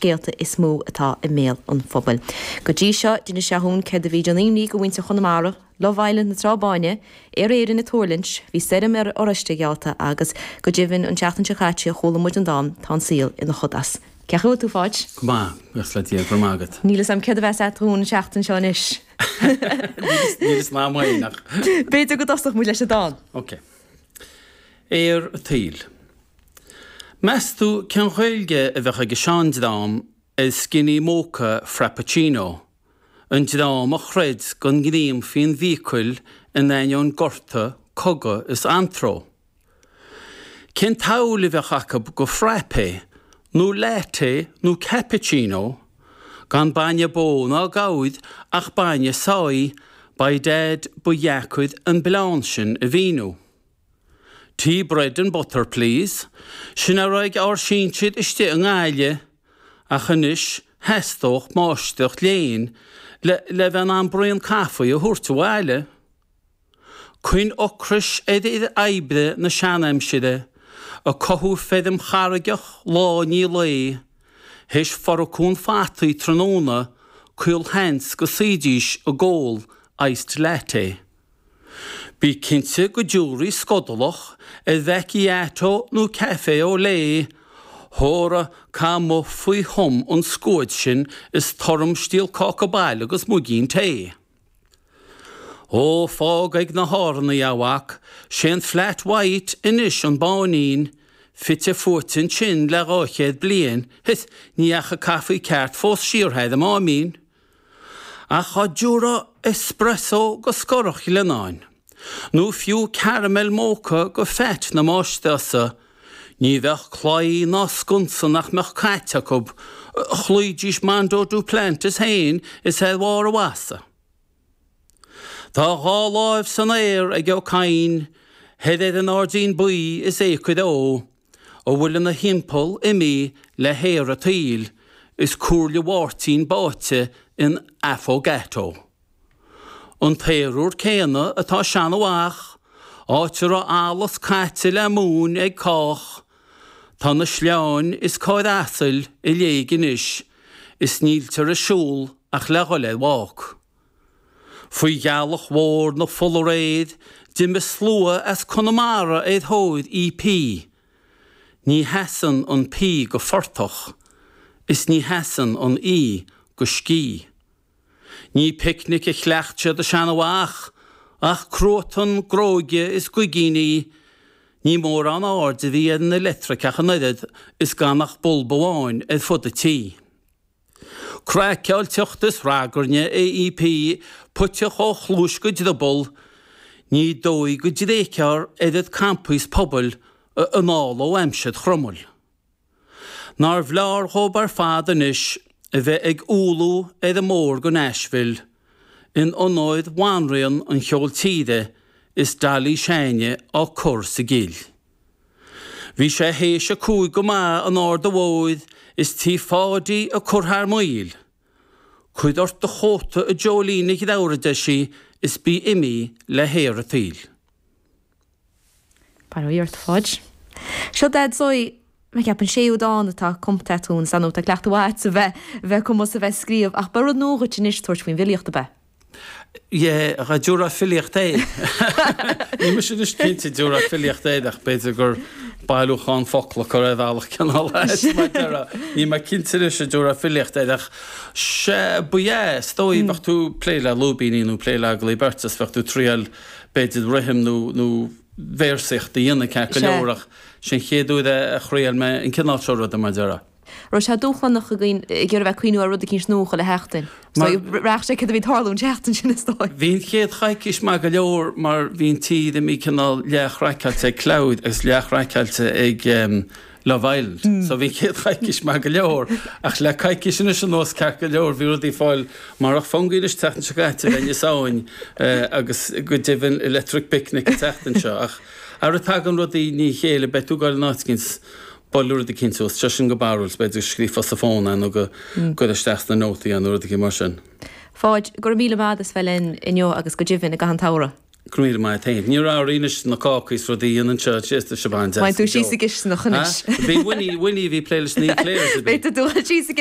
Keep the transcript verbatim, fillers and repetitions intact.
scéalta is mó atá i mbéal an phobail. Go dtí seo d'inis sé dhúinn céard a bhí ag déanamh imní do mhuintir Chonamara, Love Island na Trá Báine, Aer Éireann ag tuirlingt, bhí stoirm ar Oráiste geallta agus go deimhin an tseachtain seo caite chuala muid an dán tá an saol ina shodas. Cén chaoi a bhfuil tú a Pháid? Go maith, buíochas le Dia, go raibh maith agat. Níl a fhios agam céard a bheas agat dhúinn an tseachtain seo anois. Níl fhios agam féin ach. B'fhéidir go dtosódh muid leis an dán. Ok. Aer an tsaoil. Meas tú cén Ghaeilge a bheadh ag an seandream ar skinny mocha frappuccino, an dream a chreid go ngreimfí an mhíocail in ainneoin gorta, cogadh is antró? Cén tsamhail a bheadh acu go frappe nó latte nó cappuccino, gan bainne bó ná gabhair ach bainne soy, by dad ba dheacair an bleán sin a mhíniú. Tea bread and butter please, sin a raibh ag ár sinsir istigh i nGaillimh ach anois theastódh máistreacht léinn le le bheith in ann braon caife a thabhairt abhaile. Cuin ocrais ar fhir oibre na seanaimsire, ag cothú feirm charraigeach lá i ndiaidh lae, théis forcún fataí tráthnóna, caolsheans go suídís ag ól iced latte. Bí cinnte go dtiúrfaí scodalach ar mhacchiato nó café au lait, hóra caith amuigh faoi thom an scuad sin is toram stiall cáca baile agus muigín tae. Ó, fág ag na hÁrannaigh, a mhac, sé an flat white anois an báinín, fite fuaite ansin le dhá chéad bliain, is ní dheachaigh caife ceart fós siar thar an Máimín. Ach dá dtiúrfá espresso go Scorach Ghleannáin, nó fiú caramel mocha go Phat na máistreása, ní bheadh claí ná sconsa nach mbeadh caite acu, chloídís Mondo Duplantis féin is ar bharr a mheasa. Tá a dhá láimh san aer ag Ó Cadhain, thoir ar an Airdín Buí is Acre Ó, a bhfuil ina thimpeall imithe le haer an tsaoil is comhairle Mháirtín báite in affogato. An t-aer úr céanna atá i Seanadh Mhach, áit a raibh allas caite le móin ag cách, tá na sleáin is carr asail i léig anois is níltear ag siúl ach le dhul ar bhác. Faoi ghealach mhór na fola aréir d'imigh slua as Conamara ar thóir EP. Ní sheasann an P go phortach is ní sheasann an E go scíth. Ní picnic a chleacht siad i Seanadh Mhach ach cruatan gróige is gaigíní, ní mórán aird a bhí ar an leictreachas ach an oiread is gan ach bolb amháin ar fud an tí. Craiceáilteacht is ragairne é EP puiteach ó chluais go drioball, ní dóigh go dtréigfear oiread campaí is pobail anall ó aimsir Chromail. Nár bhleár dhóibh ar fad anois a bheith ag ualú ar an mbóthar go Nashville in onóir bhanríon an cheoil tíre is Dolly Seánie á cur sa gcill. Bhí sé théis a cúig go maith an Arda Mhóir is tí Pháidí ag cur thar maoil. Cuir ort do chóta a Jolene a dhreabhar a deir sí is bí imithe le haer an tsaoil. Bail ó Dhia ort a Pháid. Seo Dad Zoe, mé ag ceapadh an séú dán atá cumtha agat dúinn, is ar ndóigh tá cleachtadh mhaith agat a bheith bheith cumas a bheith ag scríobh ach ba rud nua dhuit anois tabhairt faoin bhfilíocht ab ea? Yeah, dá dtiúrfá filíocht air. Níl mise anois cinnte an dtiúrfá filíocht air ach b'fhéidir gur bailiúchán focla curtha ar bhealach cineál ait mar déarfá. Níl mé cinnte anois an dtiúrfá filíocht air ach sea, ba ea, is dóigh bheadh tú ag plé le lúibíní nó plé le agallaimh beirte is bheadh tú ag triail b'fhéidir rithim nó nó véarsaíocht a dhéanamh ceart go leor ach sin an chéad uair a thriail mé an cineál seo ruda mar déarfá. Raibh sé dúshlánach againn ag iarraidh bheith ag cuimhniú ar rud eicínt nua chuile sheachtain. So bhraith sé céard a bhí ag tarlú an tseachtain sin is dóigh. Bhí an chéad choicís maith go leor mar bhí an tír imithe cineál leathchraiceáilte ag cleabhair agus leathchraiceáilte ag Love Island. So bhí an chéad choicís maith go leor ach le coicís anois anuas ceart go leor bhí rudaí ag fáil marach fungi anois an tseachtain seo caite bheinn i Samhain agus go deimhin Electric Picnic an tseachtain seo ach ara tagann rudaí i ndiaidh a chéile beidh tú ag dul in áit eicínt buailfidh rud eicínt suas, sé sin go barrúil, b'fhéidir go scríofá sa fón é nó go gcuirfeá isteach sna nótaí é nó rud eicínt mar sin. Pháid, go raibh míle maith agat as bheith linn inniu agus go deimhin i gcaitheamh an tsamhraidh. Go raibh míle maith agat féin. Ní raibh anois na cácaí is rudaí a dhéanann seo síos do Siobhán deas Beidh tú síos sa gcisteanach anois. Bhí Winnie, Winnie a bhí ag plé leis na eclairs a bhí. Beidh tú síos sa